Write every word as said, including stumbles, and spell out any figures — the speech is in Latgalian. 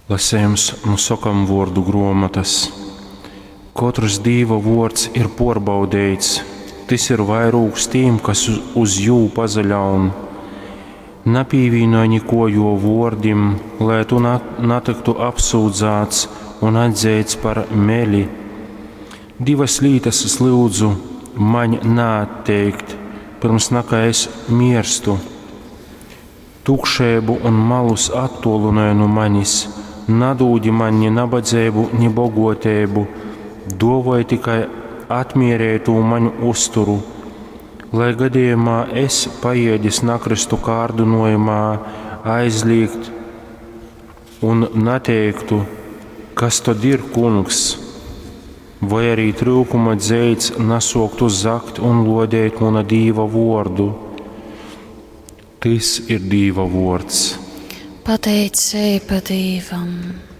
Lasejums nu sokamvuordu gruomotys. Kotrs Dīva vuords ir puorbaudeits, tys ir vairūgs tim, kas uz jū pasaļaun. Napīvīnoj nikuo juo vuordim, lai tu natyktu apsyudzāts un atzeits par meli. Divas lītas es lyudzu maņ naatteikt, pyrms nakai es mierstu. Tukšeibu un malus attuolynoj nu manis, nadūdi maņ ni nabadzeibu, ni boguoteibu, duovoj tikai atmiereitū maņ uzturu, lai gadījumā es paiedis nakrystu kārdynojumā aizlīgt un nateiktu, kas tod ir kungs, voi arī tryukuma dzeits nasuoktu zagt un luodēt muna Dīva vuordu. Tys ir Dīva vuords. Pateiceiba Dīvam!